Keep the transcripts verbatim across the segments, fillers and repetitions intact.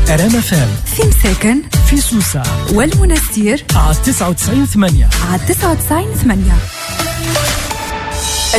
ار ام اف ام في مساكن، في سوسة والمنستير على تسعة وتسعين ثمانية، على تسعة وتسعين ثمانية.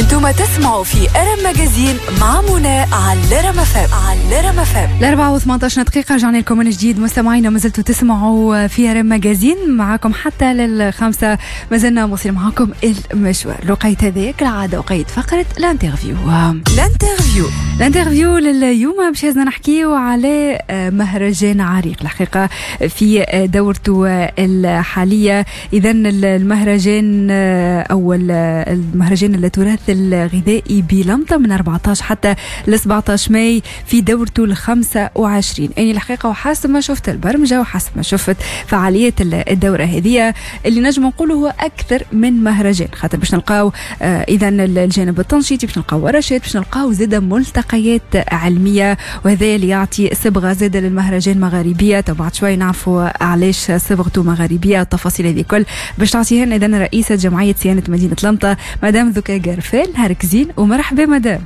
انتم تسمعوا في ار ام Magazine مع منى على الرام اف ام، على الرام اف ام. الأربعة وثمانطاش دقيقة رجعنا لكم من جديد مستمعينا، ما زلتوا تسمعوا في ار ام Magazine معاكم حتى للخمسة، ما زلنا مواصلين معاكم المشوار. الوقيت هذاك العادة وقيت فقرة l'interview. l'interview l'interview لليوم باش لازمنا نحكيو على مهرجان عريق الحقيقة في دورته الحالية. إذا المهرجان أو المهرجان التراث الغذائي بلمطة من أربعطاش حتى ل سبعطاش ماي في دورته ال خمسة وعشرين. يعني الحقيقة وحسب ما شفت البرمجة وحسب ما شفت فعالية الدورة هذه، اللي نجم نقوله هو أكثر من مهرجان، خاطر باش نلقاو آه، إذا الجانب التنشيطي، باش نلقاو ورشات، باش نلقاو زادة ملتقيات علمية، وهذا اللي يعطي صبغة زادة للمهرجان مغاربية. بعد شوي نعرفوا علاش صبغته مغاربية، التفاصيل هذه كل باش تعطيها لنا إذا رئيسة جمعية صيانة مدينة لمطة مدام ذكاء قرفال. نهارك زين ومرحبا مدام.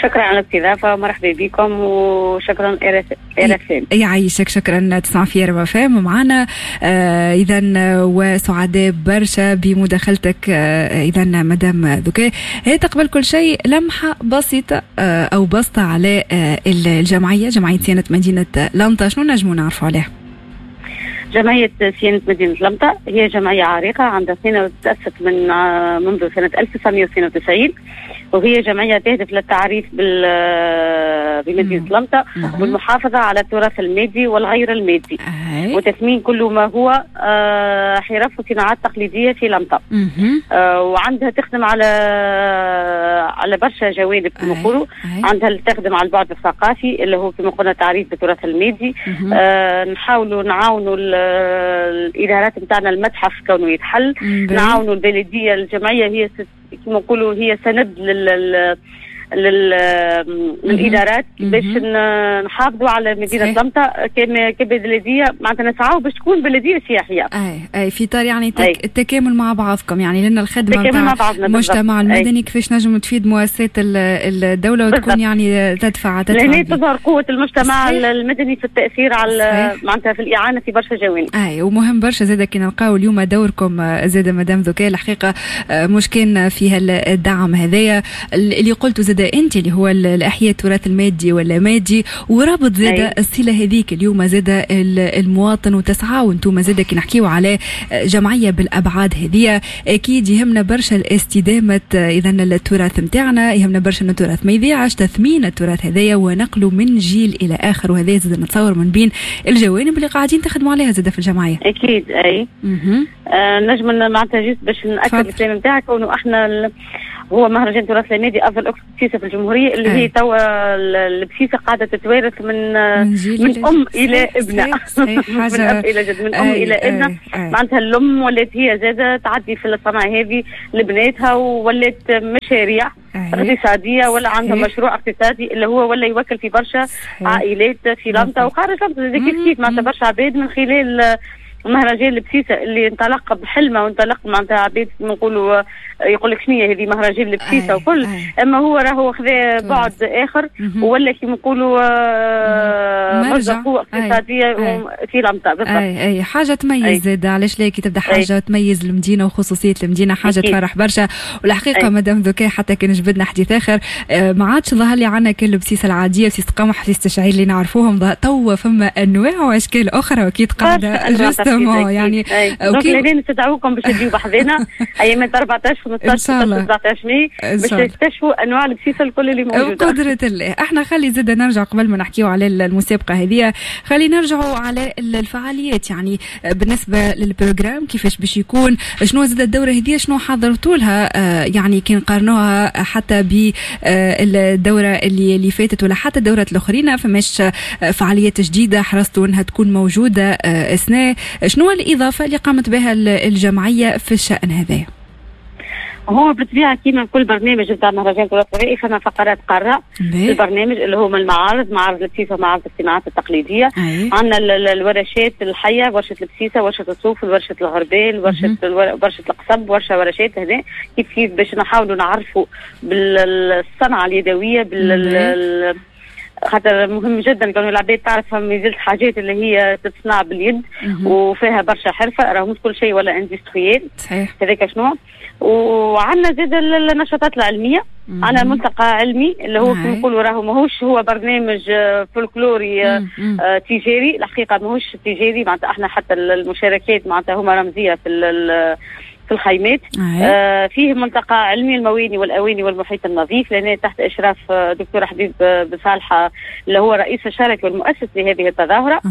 شكرا على الاستضافة ومرحبا بكم وشكرا ار اف ام. يعيشك، شكرا. تسمع في ار اف ام معنا آه اذا وسعداء برشا بمداخلتك. آه اذا مدام ذكاء، هي قبل كل شيء لمحه بسيطة آه او بسطه على آه الجمعيه، جمعية صيانة مدينة لمطه، شنو نجموا نعرفوا عليها؟ جمعية صيانة مدينة لمطة هي جمعية عريقة عندها سنة، تأسست من منذ سنة ألف وتسعمية واثنين وتسعين، وهي جمعية تهدف للتعريف بال بمدينة لمطة والمحافظة على التراث المادي والغير المادي وتثمين كل ما هو آه، حرف وصناعات تقليدية في لمطة. آه، وعندها تخدم على على برشا جوانب كما نقولوا، عندها تخدم على البعد الثقافي اللي هو كما قلنا تعريف بالتراث المادي. آه نحاولوا نعاونوا الادارات نتاعنا، المتحف كونه يتحل، نعاونوا البلديه. الجمعية هي كما نقولوا هي سند لل لل للادارات باش نحافظوا على مدينة لمطه كبلديه، معناتها نسعوا باش تكون بلديه سياحيه. اي اي في اطار يعني تك التكامل مع بعضكم، يعني لان الخدمة مع المجتمع المدني كيفاش نجم تفيد مؤسسات الدولة وتكون بالضبط. يعني تدفع تدفع لهنا تظهر قوة المجتمع صحيح. المدني في التاثير على معناتها في الاعانة في برشا جوانب. اي، ومهم برشا زاد كي نلقاو اليوم دوركم زاد مدام ذكاء، الحقيقة مش كان فيها الدعم هذايا اللي قلته زاد انت اللي هو الاحياء التراث المادي ولا مادي ورابط زاد الصلة هذيك اليوم زاد المواطن وتسعى، وانتم زاد كي نحكيو على جمعية بالابعاد هذه اكيد يهمنا برشا الاستدامه. اذا التراث نتاعنا يهمنا برشا ان التراث ما يضيعش، تثمين التراث هذايا ونقله من جيل الى اخر، وهذا زاد نتصور من بين الجوانب اللي قاعدين تخدموا عليها زاد في الجمعيه. اكيد اي. آه نجم معناتها juste باش ناكد الكلام نتاعك كونه احنا هو مهرجان تراث المادي افضل اكل بسيسه في الجمهوريه، اللي هي توا البسيسه قاعدة تتوارث من من, من ام الى ابنه، من اب الى جد، من ام الى ابنه. معناتها الام ولات هي زاده تعدي في الصنعة هذه لبناتها، وولات مشاريع اقتصاديه، ولا عندها مشروع اقتصادي اللي هو ولا يوكل في برشا عائلات في لمطه وخارج لمطه كيف كيف. معناتها برشا عباد من خلال مهرجان البسيسه اللي انطلق بحلمه وانطلق معناتها عباد نقولوا يقول لك شنو هذه مهرجان البسيسه وكل، اما هو راهو خذا بعد اخر ولا كيما نقولوا آه، مصدر قوة اقتصادية في لمطه. بالضبط، اي اي حاجة تميز زاد، علاش لا كي تبدا حاجة أي. تميز المدينة وخصوصيه المدينه، حاجة أكيد. تفرح برشا. والحقيقة مدام ذكاء، حتى كان جبدنا حديث اخر، آه، ما عادش ظهر لي عندنا كل البسيسه العاديه، بسيسه قمح، بسيسه الشعير اللي نعرفوهم، توا فما انواع واشكال اخرى واكيد قاعدة justement يعني. donc لهنا نستدعوكم باش تجيو بحذنا ايامات أربعطاش، خمسطاش، ستطاش، سبعطاش ماي باش تكتشفوا انواع البسيسه الكل اللي موجوده. بقدرة الله. احنا خلي زاد نرجع قبل ما نحكيو على المسابقة هذه، خلي نرجعوا على الفعاليات، يعني بالنسبة لل programme كيفاش باش يكون، شنو زاد الدورة هذه شنو حضرتوا لها، آه، يعني كي نقارنوها حتى بالدوره اللي اللي فاتت ولا حتى الدورات الاخرين، فماش فعاليات جديدة حرصتوا انها تكون موجودة السنه؟ شنو الاضافة اللي قامت بها الجمعية في الشان هذا؟ هو بالطبيعة كيما كل برنامج نتاع مهرجان تراث غذائي فما فقرات قارة في البرنامج اللي هما المعارض، معارض البسيسه ومعارض الصناعات التقليديه. عندنا الورشات الحيه، ورشه البسيسه، ورشه الصوف، ورشه الغربال، ورشه ورشه القصب، ورشه ورشات هنا كيف كيف باش نحاولوا نعرفوا بالصنعه اليدوية بال خاطر مهم جدا كون العباد تعرف مازالت حاجات اللي هي تتصنع باليد وفيها برشا حرفه، راهو مش كل شيء ولا industriel. صحيح. هذاك شنو. وعندنا زاد النشاطات العلمية، عندنا ملتقى علمي اللي هو كما نقولوا راهو ماهوش هو برنامج فولكلوري آه تجاري، الحقيقة ماهوش تجاري، معناتها احنا حتى المشاركات معناتها هما رمزية في في الخيمات. آه فيه ملتقى علمي المواني والاواني والمحيط النظيف، لان تحت اشراف دكتور حبيب بصالحه اللي هو رئيس الشركة والمؤسس لهذه التظاهرة،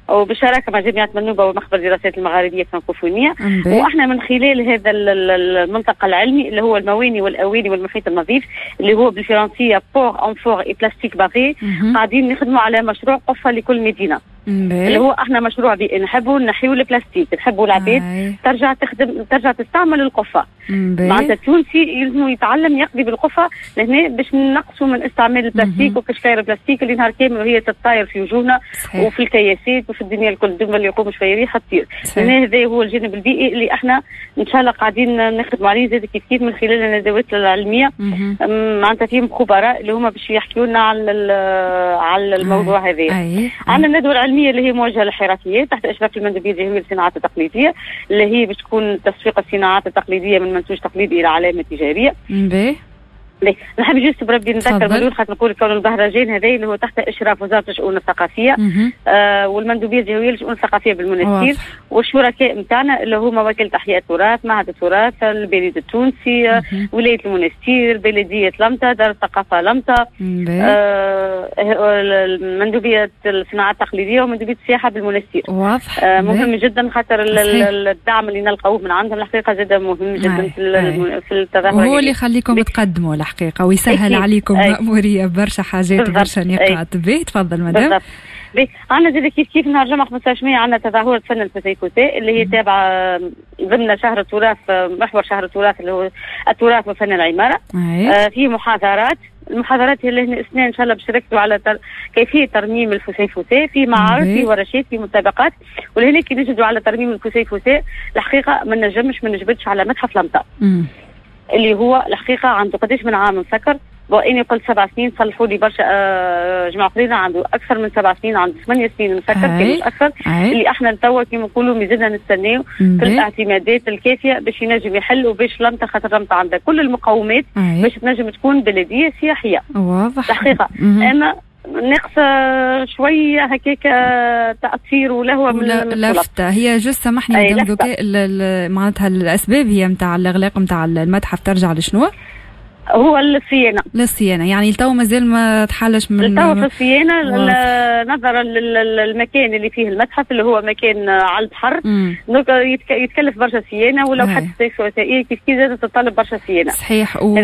وبشراكه مع جامعه منوبه ومخبر الدراسات المغاربية الفرنكوفونيه. واحنا من خلال هذا الملتقى العلمي اللي هو المواني والاواني والمحيط النظيف اللي هو بالفرنسيه ports amphores et plastique barré، قاعدين نخدموا على مشروع قفة لكل مدينة. اللي هو احنا مشروع بيئي، نحبوا نحيوا البلاستيك، نحبوا العباد ترجع تخدم، ترجع تستعمل القفه. معناتها التونسي يلزم يتعلم يقضي بالقفه لهنا باش نقصوا من استعمال البلاستيك وكشكاير البلاستيك اللي نهار كامل وهي تتطاير في وجوهنا وفي الكياسات وفي الدنيا الكل، دوما اللي يقوم شوية ريحه تطير. لهنا هذا هو الجانب البيئي اللي احنا ان شاء الله قاعدين نخدموا عليه زاد كيف كيف من خلال الندوات العلمية. معناتها فيهم خبراء اللي هما باش يحكيوا لنا على على الموضوع هذا. عندنا الندوة العلمية اللي هي موجهة للحرفيات تحت اشراف المندوبيه الجهوية للصناعات التقليدية، اللي هي باش تكون تسويق الصناعات التقليدية من منتوج تقليدي الى علامة تجارية. باهي. نحب juste بربي نذكر ملول خاطر نقول كون المهرجان هذا اللي هو تحت اشراف وزارة الشؤون الثقافية آه والمندوبيه الجهوية للشؤون الثقافية بالمنستير، والشركاء نتاعنا اللي هما وكالة احياء التراث، معهد التراث، البريد التونسي، ولاية المنستير، بلديه لمطه، دار الثقافة لمطه، آه مندوبيه الصناعات التقليدية ومندوبيه السياحة بالمنستير. واضح. آه مهم جدا خاطر الدعم اللي نلقاوه من عندهم الحقيقة زاد مهم جدا في في التظاهرة، وهو اللي يخليكم تقدموا الحقيقة ويسهل عليكم مأمورية برشا حاجات وبرشا نقاط. باهي تفضل مدام. باهي عندنا زاد كيف كيف نهار الجمعة خمسطاش ماي عندنا تظاهرة فن الفسيفساء اللي هي تابعة ضمن شهر التراث، محور شهر التراث اللي هو التراث وفن العمارة. آه فيه محاضرات، المحاضرات اللي هنا السنة ان شاء الله باش نركزوا على تر... كيفية ترميم الفسيفساء، في معارض، في ورشات، في مسابقات. ولهنا كي نجدوا على ترميم الفسيفساء الحقيقة ما نجمش ما نجبدش على متحف لمطة اللي هو الحقيقة عنده قداش من عام مسكر. واني قلت سبع سنين، صلحوا لي برشا آه جماعة اخرين عنده اكثر من سبع سنين، عنده ثمانية سنين مسكر كان مش اكثر. اللي احنا توا كيما نقولوا مازلنا نستناو في الاعتمادات الكافيه باش ينجم يحل وباش لمطه، خاطر لمطه عندها كل المقومات باش تنجم تكون بلديه سياحية. واضح الحقيقة. اما ناقصه شوية هكاك تاثير ولهوه من لفته. هي juste سامحني مدام ذكاء، معناتها الاسباب هي نتاع الاغلاق نتاع المتحف ترجع لشنو؟ هو الصيانة. للصيانه يعني التو مازال ما تحلش من التو في الصيانة نظرا للمكان اللي فيه المتحف اللي هو مكان على البحر، donc يتكلف برشا صيانة، ولو حتى وثائقية كيف كيف زادت تطلب برشا صيانة. صحيح. و...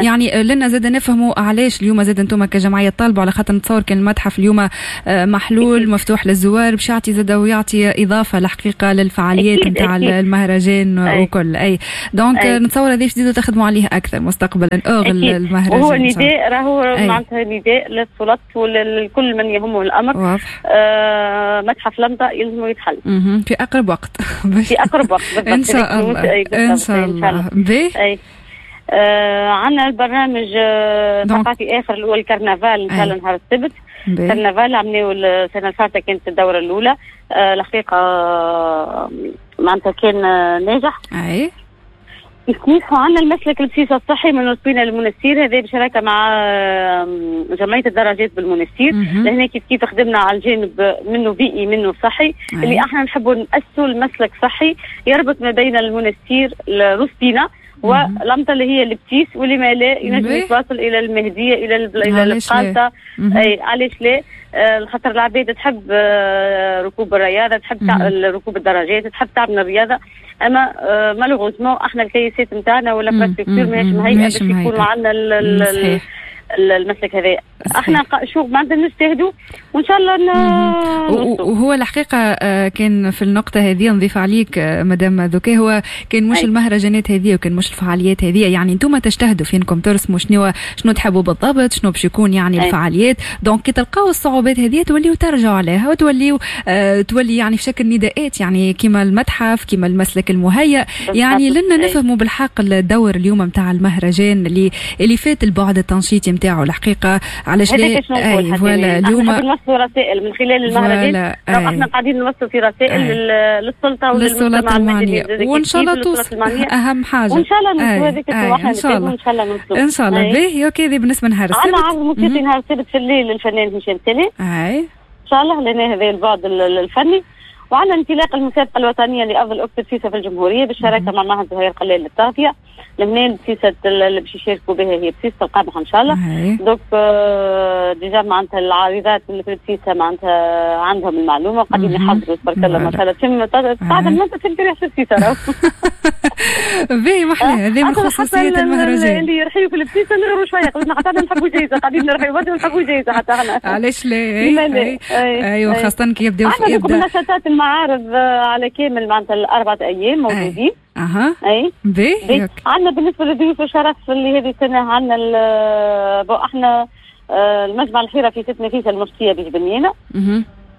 يعني لنا زاد نفهموا علاش اليوم زاد انتم كجمعية طالبوا، على خاطر نتصور كان المتحف اليوم محلول مفتوح للزوار باش يعطي زاد ويعطي اضافه الحقيقة للفعاليات نتاع المهرجان وكل. اي donc نتصور هذه تزيدوا تخدموا عليه اكثر مستقبلا. المهرجان وهو نداء، راهو معناتها نداء للسلطات ولكل من يهمه الامر. آه متحف لمطه يلزم يتحل في اقرب وقت. في اقرب وقت بالضبط. ان شاء الله. ان شاء الله. باهي. آه عندنا البرنامج ثقافي اخر اللي هو الكرنفال ان شاء الله نهار السبت. الكرنفال عملناه السنة اللي فاتت، كانت الدورة الاولى. آه الحقيقة معناتها كان ناجح. اي كيف عندنا المسلك البسيسة الصحي من رسبينا للمنستير، هذا بشراكه مع جمعية الدراجات بالمنستير. لهنا كيف كيف خدمنا على الجانب منه بيئي منه صحي. أي. اللي احنا نحبوا نأسسوا المسلك صحي يربط ما بين المنستير لرسبينا ولمطه اللي هي البتيس، واللي ما لا ينجم يتواصل الى المهدية الى الى القالطه. اي علاش لا؟ خاطر العباد تحب ركوب الرياضة، تحب ركوب الدراجات، تحب تعمل الرياضة، اما malheureusement احنا الكيسات نتاعنا ولا infrastructure ماهيش مهيئة باش يكون عندنا المسلك هذا. احنا شو معناتها نجتهدوا وان شاء الله وهو الحقيقة كان في النقطة هذه نضيف عليك مدام ذكاء، هو كان مش أي. المهرجانات هذه وكان مش الفعاليات هذه، يعني انتم تجتهدوا في انكم ترسموا شنو شنو تحبوا بالضبط، شنو باش يكون يعني أي. الفعاليات. donc كي تلقاو الصعوبات هذه توليو ترجعوا عليها وتوليو آه تولي يعني في شكل نداءات، يعني كيما المتحف كيما المسلك المهيأ. يعني لنا نفهموا بالحق الدور اليوم نتاع المهرجان اللي اللي فات البعد التنشيطي نتاعو الحقيقة. علاش لا؟ اي voilà اليوم نوصلوا رسائل من خلال المهرجان، احنا قاعدين نوصلوا في رسائل للسلطة وللمجتمع المدني، وان شاء الله توصل اهم حاجة، وان شاء الله نوصلوا هذيك ان شاء الله ان شاء الله نوصلوا ان شاء الله. باهي OK، هذه بالنسبة لنهار السبت. عندنا عرض موسيقي نهار السبت في الليل للفنان هشام سليم. اي ان شاء الله لنا هذا البعد الفني. وعندنا انطلاق المسابقة الوطنية لافضل اكتب بسيسه في الجمهورية بالشراكة مع معهد زهير قلال للتغذيه. لمنين البسيسه اللي باش يشاركوا بها هي بسيسه القمح ان شاء الله. donc آه déjà معناتها العارضات اللي في البسيسه معناتها عندهم المعلومة وقاعدين يحضروا تبارك الله ما شاء الله. تم بعد المنطقة تم ريحه البسيسه. باهي محلاها، هذه من خصوصية المهرجان. اللي يرحيوا في البسيسه نغروا شوية قلنا حتى نحبوا جايزة، قاعدين نرحيوا نحبوا جايزة حتى احنا. علاش لا؟ ايوا خاصة كي يبداو يبدا نشاطات المعارض على كامل معناتها الاربعة ايام موجودين. اها اي باهي. عندنا بالنسبة لضيوف الشرف اللي هذه السنة عندنا احنا المجمع الحرفي في ست نفيسة المفتيه بجبنينه،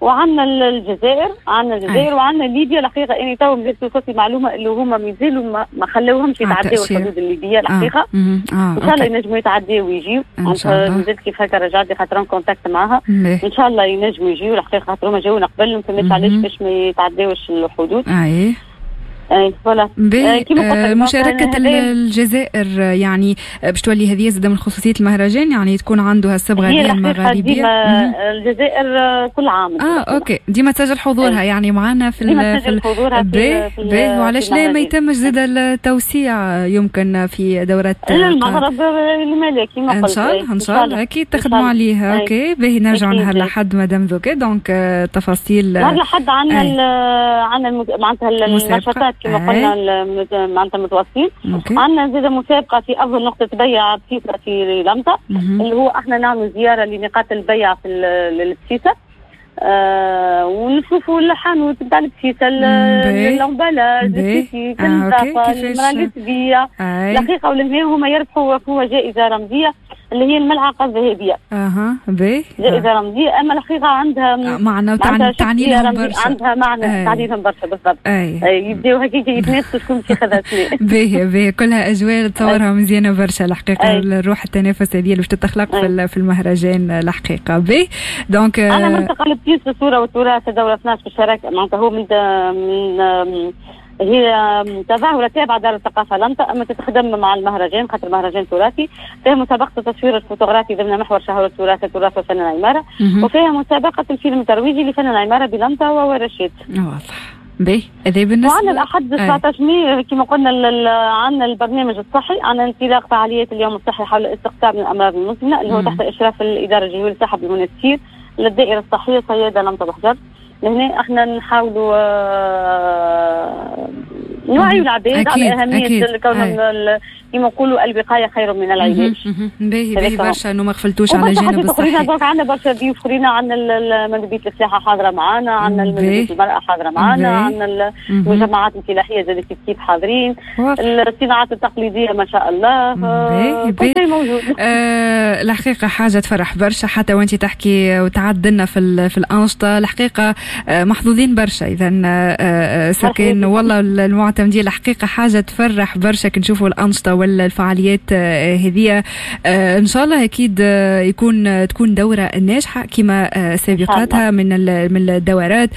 وعندنا الجزائر، عندنا الجزائر وعندنا ليبيا. الحقيقة اني تو مازالت وصلت معلومة اللي هما مازالوا ما, ما خلوهمش يتعداو الحدود الليبية الحقيقة. آه. آه. ان شاء الله ينجموا يتعداو ويجيو. مازالت كيف هكا رجعت لي خاطر contact معاها. ان شاء الله ينجموا يجيو الحقيقة، خاطر هما جاونا قبل ما فهمتش علاش باش ما يتعداوش الحدود. اي اي voilà. آه مشاركة الجزائر يعني باش تولي هذه زادة من خصوصية المهرجان، يعني تكون عنده الصبغة هذه المغاربية. الجزائر كل عام اه OK ديما تسجل حضورها يعني معنا في ديما تسجل حضورها في باهي. وعلاش لا ما يتمش زاد التوسيع يمكن في دورات المغرب الملكي ما ان شاء الله ان شاء الله اكيد تخدموا عليها. OK باهي، نرجعوا نهار الاحد مدام ذوكي. donc تفاصيل نهار الاحد عندنا عندنا معناتها النشاطات كما قلنا معناتها متواصلين. عندنا زاد مسابقة في افضل نقطة بيع بسيسه في لمطه، اللي هو احنا نعمل زيارة لنقاط البيع في البسيسه آه ونشوفوا الحانوت نتاع البسيسه، l'emballage، البسيسي، النظافة، المراة اللي تبيع الحقيقة. ولهنا هما يربحوا هو جائزة رمزية اللي هي الملعقه الذهبية. اها باهي، جائزة رمزية. اما الحقيقة عندها معنى وتعني لهم برشا، عندها معنى تعني لهم برشا بالضبط. يبداو هكاك يتنافسوا شكون باش ياخذها. باهي باهي، كلها اجواء تصورها مزيانه برشا الحقيقة. الروح التنافس هذه اللي باش تتخلق في, في المهرجان الحقيقة. باهي donc انا ملتقى البسيس الصورة والتراث دوره اثناش في الشراكة معناتها هو من من هي تظاهرة تابعة دار الثقافة لمطة، أما تتخدم مع المهرجان خاطر مهرجان تراثي. فيها مسابقة التصوير الفوتوغرافي ضمن محور شهر التراث التراث وفن العمارة، وفيها مسابقة الفيلم الترويجي لفن العمارة بلمطة وورشات. واضح. باهي هذا بالنسبة. وعندنا الأحد تسعطاش ماي كما قلنا عندنا البرنامج الصحي، عندنا انطلاق فعاليات اليوم الصحي حول الاستقطاب من الأمراض المزمنة اللي هو تحت إشراف الإدارة الجهوية للصحة بالمنستير للدائرة الصحية صيادة لمطة بحجر. لهنا احنا نحاولوا نوعيوا العباد على اهمية كونهم كما نقولوا الوقاية خير من العلاج. باهي باهي برشا انه ما غفلتوش على الجانب الصحي. donc عندنا برشا ضيوف اخرين، عندنا مندوبيه الفلاحة حاضره معنا، عندنا مندوبيه المراة حاضره معنا، عندنا المجمعات الفلاحية زاد كيف كيف حاضرين، الصناعات التقليدية ما شاء الله، كل شيء موجود. آه الحقيقة حاجة تفرح برشا حتى وانت تحكي وتعدلنا في في الانشطة الحقيقة. محظوظين برشا اذا سكن والله المعتمدين. الحقيقة حاجة تفرح برشا كي نشوفوا الانشطة والفعاليات هذه. ان شاء الله اكيد يكون تكون دوره ناجحة كما سابقاتها من من الدورات.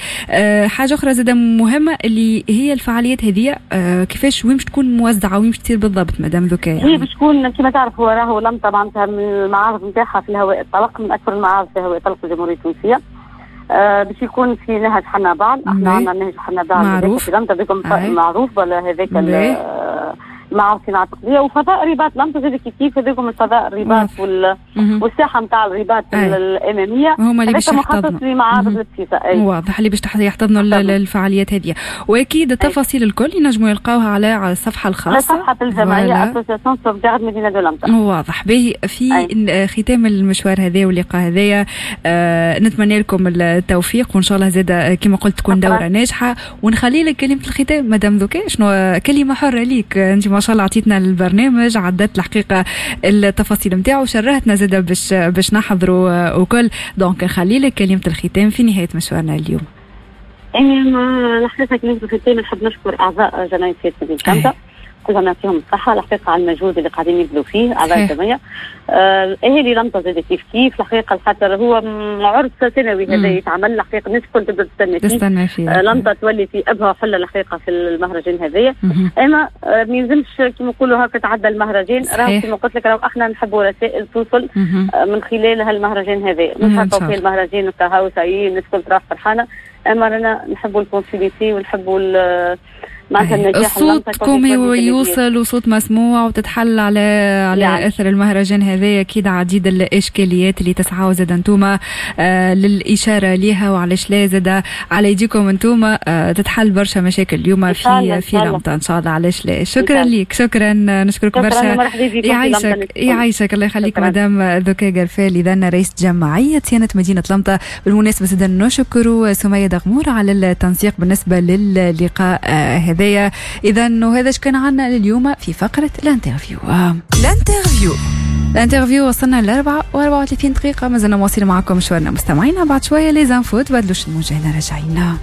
حاجة اخرى زاده مهمة اللي هي الفعاليات هذه كيفاش وين باش تكون موزعة وين باش تصير بالضبط مدام ذكاء؟ يعني هي باش تكون كما تعرف هو راهو لمطه معناتها من المعارض نتاعها في الهواء الطلق، من اكثر المعارض في الهواء الطلق في الجمهورية التونسية. آه باش يكون في نهج حنابعل، احنا عندنا نهج حنابعل معروف في لمطه بكم معروف ولا هذاك معارض صناعة التقليدية، وفضاء رباط لمطه زاد كيف كيف هذوكم الفضاء الرباط وال... والساحه نتاع الرباط الامامية هما اللي باش يحتضنوا لمعارض البسيسه. واضح اللي باش يحتضنوا الفعاليات هذه، واكيد التفاصيل الكل ينجموا يلقاوها على على الصفحة الخاصة على صفحة الجمعية association sauvegarde مدينة de لمطه. واضح. باهي في أي. ختام المشوار هذا واللقاء هذايا آه نتمنى لكم التوفيق وان شاء الله زاد كما قلت تكون دوره ناجحة. ونخلي لك كلمة الختام مدام ذكاء، شنو كلمة حره ليك انت ما شاء الله عطيتنا البرنامج، عدت الحقيقة التفاصيل نتاعو وشرهتنا زاده باش باش نحضروا وكل. donc نخلي لك كلمة الختام في نهاية مشوارنا اليوم. يعني الحقيقة كلمة الختام نحب نشكر اعضاء جمعية سيادة مدينة لمطه، نقول لهم يعطيهم الصحة الحقيقة على المجهود اللي قاعدين يبذلوا فيه اعضاء الجمعية. اهالي لمطه زاد كيف كيف الحقيقه، خاطر هو عرس سنوي هذا يتعمل الحقيقه، الناس الكل تبدا تستنى فيه، تستنى فيه. آه لمطه تولي في ابهى حله الحقيقة في المهرجان هذايا. اما آه ما يلزمش كيما نقولوا هكا تعدى المهرجان، راهو كيما قلت لك راهو احنا نحبوا رسائل توصل آه من خلال هالمهرجان هذا، مش هكا في المهرجان كهو ça y est الناس الكل تروح فرحانه، اما رانا نحبوا ال continuité ونحبوا معناتها النجاح. صوتكم يوصل وصوت مسموع وتتحل على على يعني. اثر المهرجان هذا اكيد عديد الاشكاليات اللي تسعوا زاد انتوما آه للاشارة ليها، وعلاش لا زاد على يديكم انتوما آه تتحل برشا مشاكل اليوم في في لمطه ان شاء الله، علاش لا. شكرا ليك، شكرا، نشكرك برشا. يعيشك يعيشك الله يخليك مدام ذكاء قرفال، اذا رئيس جمعية صيانة مدينة لمطه. بالمناسبة زاد نشكر سميه دغمور على التنسيق بالنسبة للقاء هذا. إذا وهذا كان عنا لليوم في فقرة l'interview. l'interview l'interview وصلنا لأربعة وأربعة وثلاثين دقيقة، مازلنا مواصلين معكم مشوارنا مستمعينا. بعد شوية les infos، تبدلوش الموجة، راجعين.